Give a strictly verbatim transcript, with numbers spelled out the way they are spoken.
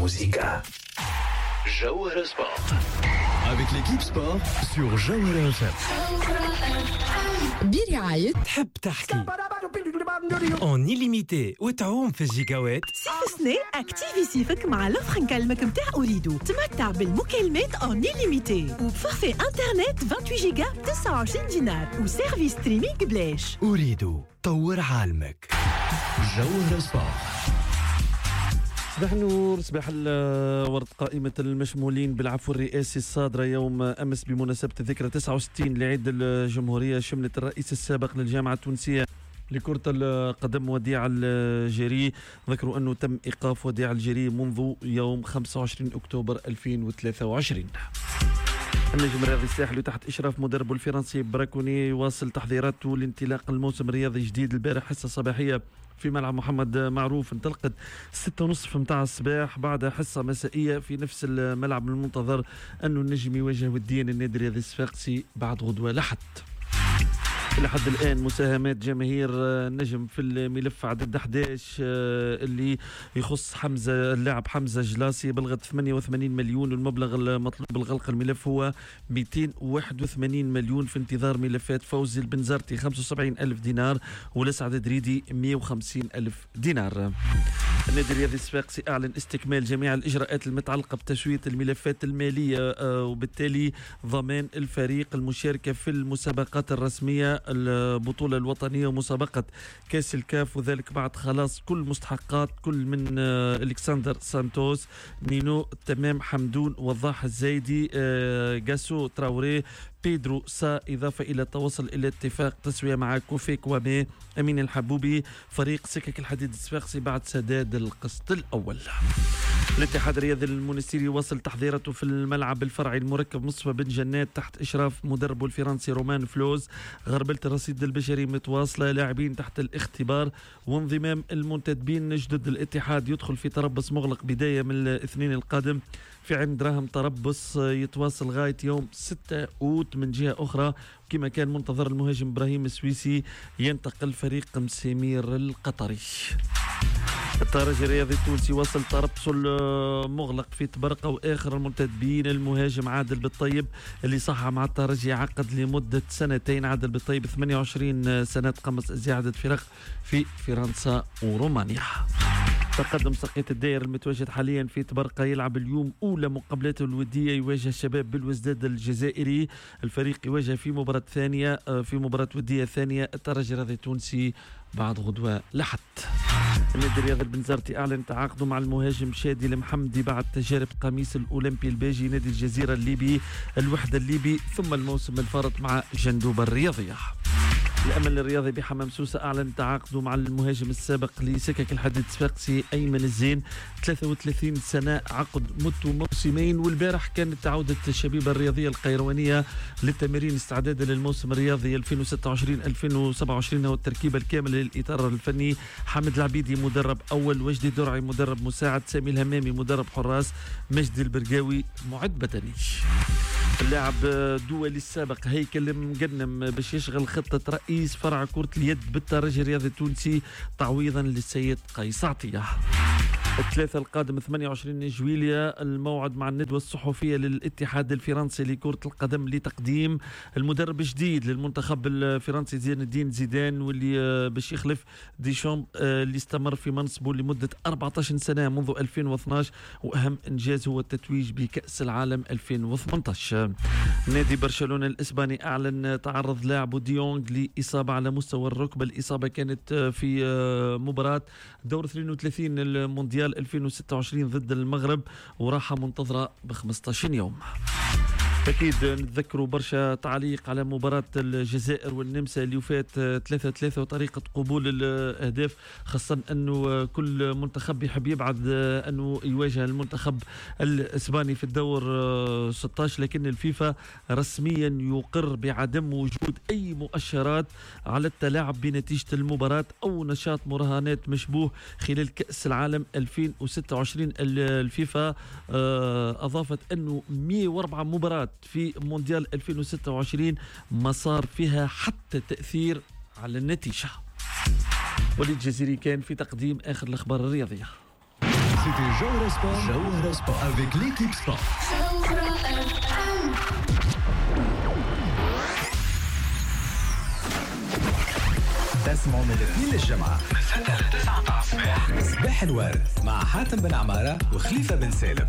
الموسيقى. جوهرة Sport Avec l'équipe sport sur جوهرة F M. برعاية تحب تحكي en illimité وتعوم في الجيجاوات؟ صيف سنة activer صيفك مع l'offre نكلمك متاع أوريدو. تمتع بالمكالمات en illimité وب forfait internet ثمانية وعشرين جيجا ب تسعة وعشرين دينار و service streaming بلاش. أوريدو، طور عالمك. جوهرة Sport. صباح النور، صباح الورد. قائمة المشمولين بالعفو الرئاسي الصادرة يوم أمس بمناسبة الذكرى تسعة وستين لعيد الجمهورية شملت الرئيس السابق للجامعة التونسية لكرة القدم وديع الجري. ذكروا أنه تم إيقاف وديع الجري منذ يوم خمسة وعشرين أكتوبر ألفين وثلاثة وعشرين. النجم الرياضي الساحلي تحت إشراف مدربه الفرنسي براكوني يواصل تحضيراته لانطلاق الموسم الرياضي الجديد. البارح حصة صباحية في ملعب محمد معروف انطلقت ستة ونصف متاع الصباح، بعد حصة مسائية في نفس الملعب. المنتظر أنه النجم يواجه وديا النادي الرياضي الصفاقسي بعد غدوة لحد. لحد الآن مساهمات جماهير النجم في الملف عدد أحد عشر آه، اللي يخص حمزة، اللاعب حمزة جلاسي، بلغت ثمانية وثمانين مليون، والمبلغ المطلوب بالغلق الملف هو مئتين وواحد وثمانين مليون. في انتظار ملفات فوزي البنزرتي خمسة وسبعين ألف دينار ولسعد دريدي مئة وخمسين ألف دينار. النادي الرياضي الصفاقسي أعلن استكمال جميع الإجراءات المتعلقة بتسوية الملفات المالية آه، وبالتالي ضمان الفريق المشاركة في المسابقات الرسمية، البطولة الوطنية ومسابقة كأس الكاف، وذلك بعد خلاص كل مستحقات كل من آه، الكسندر سانتوس، نينو تمام، حمدون، وضاح الزايدي، آه، جاسو تراوري، بيدرو سا، إضافة إلى التوصل إلى اتفاق تسوية مع كوفي كوامي، أمين الحبوبي، فريق سكك الحديد الصفاقسي بعد سداد القسط الأول. الاتحاد الرياضي المونستيري وصل تحضيراته في الملعب الفرعي المركب مصطفى بن جنات تحت إشراف مدربه الفرنسي رومان فلوز. غربلة الرصيد البشري متواصلة، لاعبين تحت الاختبار وانضمام المنتدبين جدد. الاتحاد يدخل في تربص مغلق بداية من الاثنين القادم في عين دراهم، تربص يتواصل غاية يوم ستة أوت. من جهة أخرى، كما كان منتظر، المهاجم إبراهيم السويسي ينتقل فريق مسيمير القطري. الترجي الرياضي التونسي وصل تربصه المغلق في طبرقة، واخر المنتدبين المهاجم عادل بالطيب اللي صح مع الترجي عقد لمدة سنتين. عادل بالطيب ثمانية وعشرين سنه، تقمص عدة فرق في فرنسا ورومانيا. تقدم ساقية الداير المتواجد حاليا في طبرقة يلعب اليوم أولى مقابلاته الودية، يواجه شباب بلوزداد الجزائري. الفريق يواجه في مباراة ثانية في مباراة ودية ثانية الترجي الرياضي التونسي بعد غدوة لحد. النادي الرياضي البنزرتي أعلن تعاقده مع المهاجم شادي المحمدي بعد تجارب قميص الأولمبي الباجي، نادي الجزيرة الليبي، الوحدة الليبي، ثم الموسم الفارط مع جندوبة الرياضية. الامل الرياضي بحمام سوسة اعلن تعاقده مع المهاجم السابق لسكك الحديد الصفاقسي ايمن الزين، ثلاثة وثلاثين سنه، عقد مدته موسمين. والبارح كانت عوده الشبيبة الرياضية القيروانيه للتمارين استعدادا للموسم الرياضي ألفين وستة وعشرين ألفين وسبعة وعشرين، والتركيبه الكاملة للاطار الفني: حامد العبيدي مدرب اول، وجدي درعي مدرب مساعد، سامي الهمامي مدرب حراس، مجدي البرقاوي معد بدني. اللاعب الدولي السابق هيكل مقنم باش يشغل خطة رئيس فرع كرة اليد بالترجي الرياضي التونسي تعويضا للسيد قيس عطية. الثلاثة القادم ثمانية وعشرين جويليا الموعد مع الندوة الصحفية للاتحاد الفرنسي لكرة القدم لتقديم المدرب الجديد للمنتخب الفرنسي زين الدين زيدان، واللي آه، باش يخلف ديشامب آه، اللي استمر في منصبه لمدة أربعة عشر سنة منذ ألفين واثناش، وأهم إنجاز هو التتويج بكأس العالم ألفين وثمانية عشر. نادي برشلونة الإسباني أعلن تعرض لاعبه ديونغ لإصابة على مستوى الركبة. الإصابة كانت في آه، مباراة دور اثنين وثلاثين المونديال ألفين وستة وعشرين ضد المغرب، وراحة منتظرة ب خمسة عشر يوم. اكيد نتذكروا برشا تعليق على مباراة الجزائر والنمسا اللي وفات ثلاثة ثلاثة وطريقه قبول الاهداف، خاصة انه كل منتخب يحب يبعد انه يواجه المنتخب الاسباني في الدور ستة عشر، لكن الفيفا رسميا يقر بعدم وجود اي مؤشرات على التلاعب بنتيجة المباراة او نشاط مراهنات مشبوه خلال كاس العالم ألفين وستة وعشرين. الفيفا آه، اضافت انه مئة وأربعة مباراة في مونديال ألفين وستة وعشرين ما صار فيها حتى تأثير على النتيجة. وليد جزيري كان في تقديم آخر الأخبار الرياضية. C'était Jawhara Sport. Jawhara Sport avec l'équipe Sport. Jawhara F M. تسمعوا من الاثنين للجمعة من ستة ل تسعة متاع الصباح، صباح الورد مع حاتم بن عمارة وخليفة بن سالم.